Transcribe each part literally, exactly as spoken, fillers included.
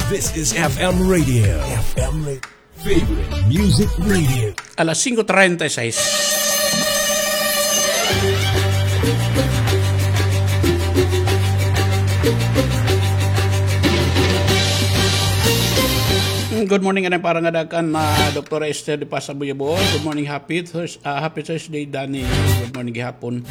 This is F M Radio. F M Radio. Favorite Music Radio. Alas singko treinta y seis. Good morning, anay para ngada kan, ah, Doktora Esther de Paz Abuyabor. Good morning, happy Thurs-, ah, happy Thursday, Danny. Good morning gihapon.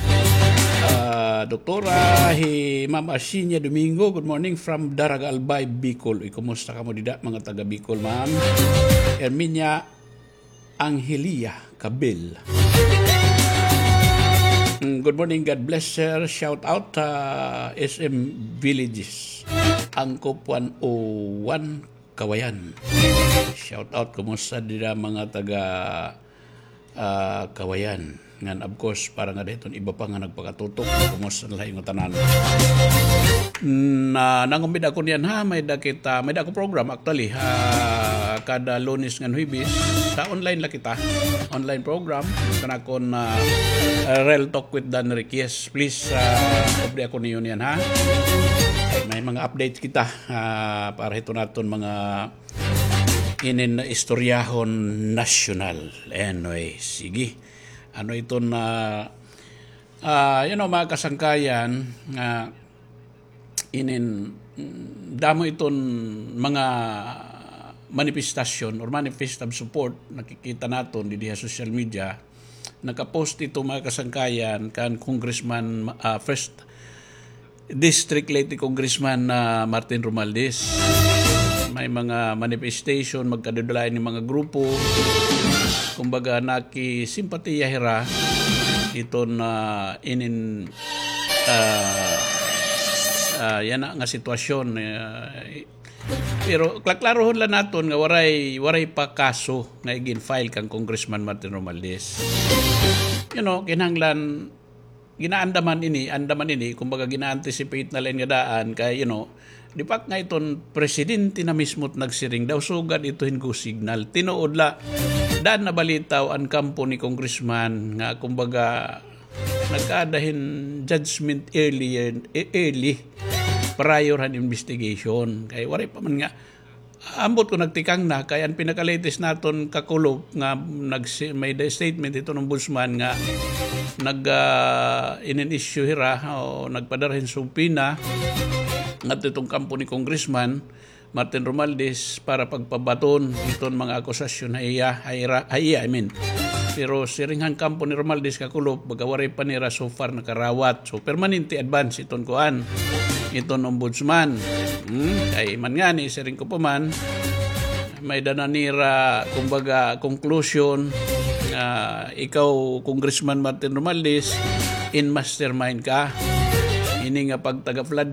Ah, Doktora, hi Ma'am Arsinia Domingo. Good morning from Daraga, Albay, Bicol. Uy, kumusta kamo dida, mga taga Bicol, ma'am? Herminia Angelia Cabel. Mm, good morning, God bless, sir. Shout out, ah, S M Villages. Angkop one oh one, Kawayan. Shout out, kumusta dida mga taga, ah, Kawayan? Ngan, of course, para ngada hiton iba pa nga nagpakatutok, kumusta na la ha inyo tanan? Na, nangumbida ako niyan, ha, may-ada kita, may-ada ako program, actually, ha, kada Lunes ngan Huwebes, sa online la kita, online program, kan akon, ah, Real Talk with Dan Riquez. Please, ah, update ako niyo niyan, ha? May mga update kita, ah, para hiton aton mga inin istoryahon nasyonal. Anyway, sige. Ano iton, ah, ah, you know, mga kasangkayan, nga inin, mm, damo iton mga manifestasyon or manifest of support nakikita naton didi ha social media. Nakapost ito, mga kasangkayan, kan Congressman, ah, first District Leyte Congressman na Martin Romualdez. May mga manifestation, magkadudulayan nga mga grupo. Kumbaga, nakisimpatiya hira iton, ah, inin, ah, ah, yana nga sitwasyon, ah, pero klaklarohon la naton nga waray, waray pa kaso nga igin-file kan Congressman Martin Romualdez. You know, kinahanglan ginaandaman ini, andaman ini, kumbaga gina-anticipate na la ini nga daan, kay, you know, di pa nga iton presidente na mismo it nagsiring daw, sugad ito hin go signal. Tinuod la, daan nabalitaw an kampo ni Congressman nga, kumbaga, nagkaada hin judgment earlier, e-, early, prior han investigation. Kay waray pa man nga, ambot ko nagtikang na, kay an pinaka-latest naton kakulop nga nagsi-, may da-, statement iton ombudsman nga nag, ah, inin-issue hira o nagpadara hin subpoena ngadto iton kampo ni Congressman Martin Romualdez para pagpabaton iton mga akusasyon ha iya, ha ira, ha iya, I mean. Pero siring han kampo ni Romualdez kakulop, baga waray pa nira so far nakarawat. So, permanente advance iton kuan, iton ombudsman. Hmm? Kay man ngani, siring ko pa man, may-ada na nira, kumbaga, conclusion, ah, ikaw, Congressman Martin Romualdez, in mastermind ka. Ini nga pagtaga-flood